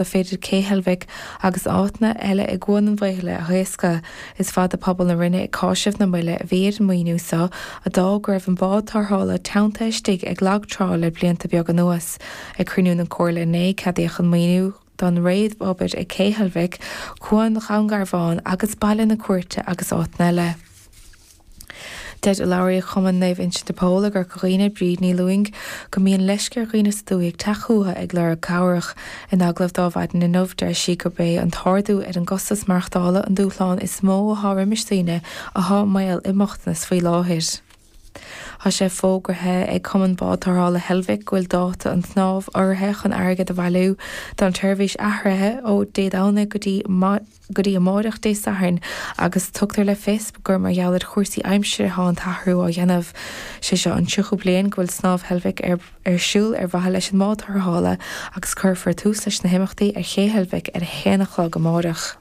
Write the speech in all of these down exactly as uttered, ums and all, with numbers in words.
le féidir Cé Heilbhic agus áiteanna eile i gCuan an Bhaothla a thaoscadh. Is fada pobal na Rinne ag cáiseamh na moille a bhí ar an maoiniú seo, a d'fhág go raibh an bád tarrthála teanntaithe istigh ag lag trá le blianta beaga anuas. Ag cruinniú na Comhairle inné, ceadaíodh an maoiniú don réamhobair ag Cé Heilbhic, Cuan Dhún Garbhán agus Baile na Cúirte agus áiteanna eile. Deir urlabhraí Chumann Naomh Uinseann de Pól i gCorca Dhuibhne, Bríd Ní Lúing, go mbíonn leisce ar dhaoine sa dúthaigh teacht chucu ag lorg cabhrach. In agallamh dá Mhaidin Inniu, deir sí gurb é an t-ardú ar an gcostas maireachtála an dúshlán is mó atá roimis daoine atá i mbaol i mbochtanas faoi láthair. Tá sé fógraithe ag Cumann Bád Tarrthála Heilbhic go bhfuil dáta an tsnámh urraithe chun airgead a bhailiú don tseirbhís athraithe ó Dé Domhnaigh go dtí go dtí amáireach Dé Sathairn agus tugtar le fios gur mar gheall ar chúrsaí aimsire atá an t-athrú á dhéanamh. Sé seo an tríochú bliain go bhfuil Snámh Heilbhic ar ar siúl ar mhaithe leis an mbád tarrthála agus cuirfear tús leis na himeachtaí ar Ché Heilbhic ar a haon a chlog amáireach.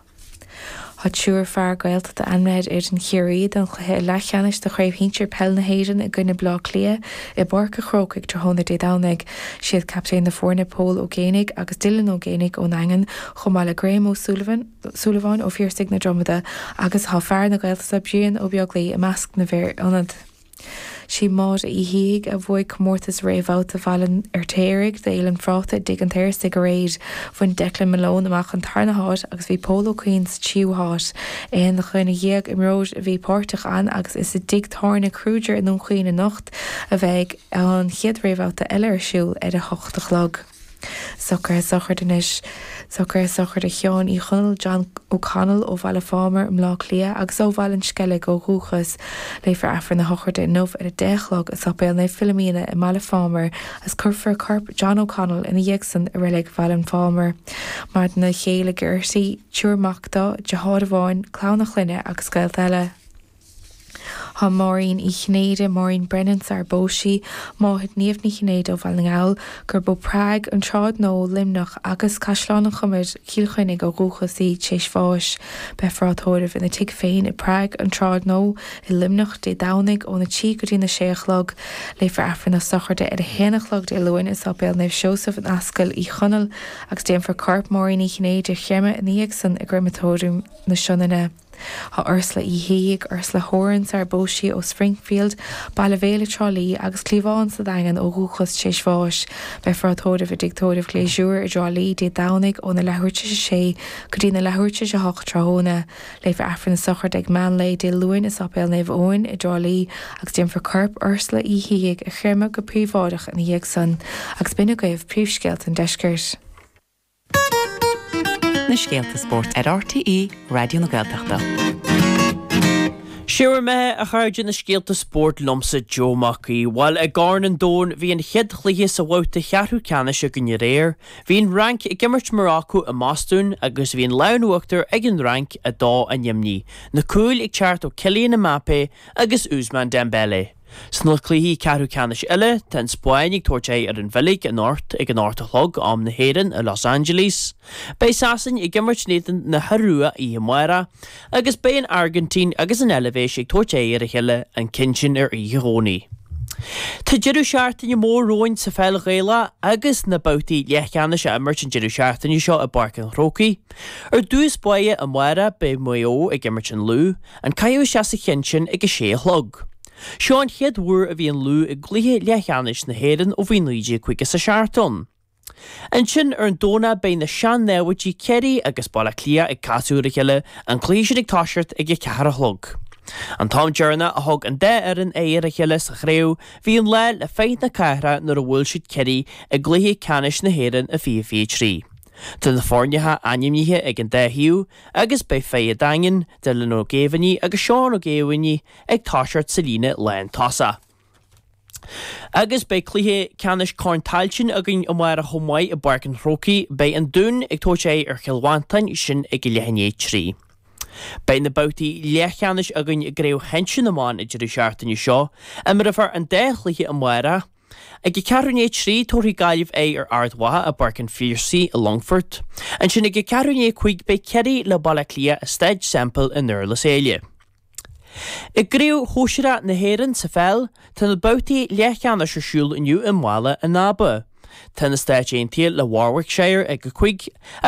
Tá triúr fear Gaeltachta ainmnithe ar fhoireann Chiarraí don chluiche leathcheannais de Chraobh Shinsir Peil na hÉireann i gcoinne Bleá Cliath i bPáirc an Chrócaigh tráthnóna Dé Domhnaigh. Siad captaen na foirne Pól Ó Géibheannaigh agus Dylan Ó Géibheannaigh ón nDaingean, chomh maith le Graham Ó Súilleabháin ó Phiarsaigh na Dromada agus tá fear na Gaeltachta Brian Ó Beaglaoi i measc na bhfear ionad. Sí Máire Uí Shíthigh a bhuaigh comórtas réamhbhabhta Bhaile an Fheirtéaraigh d'Fhéile an Phráta i dTigh an tSaorstaigh aréir. Bhain Declan Malone amach an tarna háit agus bhí Pól Ó Cuinn sa tríú háit. Aon dhuine dhéag imreoir a bhí páirteach ann agus is i dtigh tábhairne Kruger i nDún Chaoin anocht a bheidh an chéad réamhbhabhta eile ar siúl ar a hocht a chlog. Socruithe sochraide anois. Socruithe sochraide Sheáin Uí Chonaill, John O'Connell, ó Bhaile Phámar i mBleá Cliath agus ó Bhaile an Sceilg ó dhúchas. Léifear Aifreann na sochraide inniu ar a deich a chlog i Sáipéal Naomh Philomena i mBaile Phámar agus cuirfear corp John O'Connell ina dhiaidh san i Reilig Bhaile an Phámar. Maireann a chéile Gertie, triúr mac dó, deartháir amháin, clann a chlainne agus gaolta eile. Tá Máirín Uí Chinnéide, Maureen Brennan sar bpós sí, máthair Niamh Ní Chinnéide ó Bhaile na nGall, gurb ó Prague, an tSráid Nua, Luimneach agus Caisleán an Chomair, Cill Chainnigh ó dhúchas í, tar éis bháis. Beifear á tórramh ina tigh féin i Prague, an tSráid Nua, i Luimneach, Dé Domhnaigh óna trí go dtí na sé a chlog. Léifear Aifreann na sochraide ar a haon a chlog Dé Luain i Sáipéal Naomh Seosamh in Ascaill Uí Chonaill agus déanfar corp Máirín Uí Chinnéide a chreimeadh ina dhiaidh san i gCreimeatóiriam na Sionainne. Tá Ursula Uí Shíthigh, Ursula Horan sar bpós sí ó Springfield, Baile Bhéal i dTrá Lí agus Cliabhán sa Daingean ó dhúchas tar éis bháis. Beifear á tórramh i dTigh Tórraimh Ghléasúr i dTrá Lí Dé Domhnaigh óna leathuair tar éis a sé go dtí na leathuair tar éis a hocht tráthnóna. Léifear Aifreann na sochraide ag meán lae Dé Luain i Sáipéal Naomh Eoin i dTrá Lí agus déanfar corp Ursula Uí Shíthigh a chreimeadh go príobháideach ina dhiaidh san. Agus b'in agaibh príomhscéalta an deiscirt. Na scéalta spóirt ar RTÉ Raidió na Gaeltachta. Sé bhur mbeatha a chairde na scéalta spóirt liomsa Joe Mac Aoidh. Bhuel i gCorn an Domhain bhí an chéad chluiche sa bhabhta cheathrú ceannais againn aréir. Bhí an Fhrainc ag imirt Morocco i mBostún agus bhí an lámh in uachtar ag an Fhrainc a dó a neamhní. Na cúil ag teacht ó Kylian Mbappé agus Ousmane Dembele. Sna cluichí ceathrú ceannais eile, tá an Spáinn ag tabhairt aghaidh ar an Bheilg anocht ag an ocht a chlog, am na hÉireann, i Los Angeles. Beidh Sasain ag imirt in éadan na hIorua oíche amárach, agus beidh an Airgintín agus an Eilvéis ag tabhairt aghaidh ar a chéile, an ceann sin ar oíche Dhomhnaigh. Tá deireadh seachtaine mór romhainn sa pheil Ghaelach agus na babhtaí leathcheannais á imirt an deireadh seachtaine seo i bPáirc an Chrócaigh. Ar dtús báire amárach beidh Maigh Eo ag imirt an Lú, an caitheamh isteach sa cheann sin ag a sé a chlog. Seo an chéad uair a bhí an Lú i gcluiche leathcheannais na hÉireann ó bhí naoi déag caoga is a seacht ann. Ansin ar an Domhnach beidh na sean-naimhde Ciarraí agus Baile Átha Cliath ag casadh ar a chéile, an cluiche sin ag toiseacht ag a ceathair a chlog. An t-am deireanach a thug an dá fhoireann aghaidh ar a chéile sa chraobh bhí an lá le Fight na Cathrach nuair a bhuail siad Ciarraí i gcluiche ceannais na hÉireann i fiche fiche trí. Tá na foirneacha ainmnithe ag an dá thaobh agus beidh fir an Daingin, Dylan Ó Géibheannaigh agus Seán Ó Géibheannaigh ag toiseacht sa líne lántosach. Agus beidh cluiche ceannais Chorn Tailteann againn amárach chomh maith i bPáirc an Chrócaigh. Beidh an Dún ag tabhairt aghaidh ar Chill Mhantáin, sin ag a leath i ndiaidh a trí. Beidh na babhtaí leathcheannais againn i gCraobh Shinsir na mBan an deireadh seachtaine seo. Imreofar an dá chluiche amárach. Ag a ceathrú i ndiaidh a trí, tabharfaidh Gaillimh aghaidh ar Ard Mhacha i bPáirc an Phiarsaigh i Longfort. Ansin ag a ceathrú i ndiaidh a cúig beidh Ciarraí le Baile Átha Cliath i Staid Semple i nDurlas Éile. I gCraobh Shóisearach na hÉireann sa pheil, tá na babhtaí leathcheannais ar siúl inniu i mBaile an Aba. Tá na Stáit Aontaithe le Warwickshire ag a cúig agus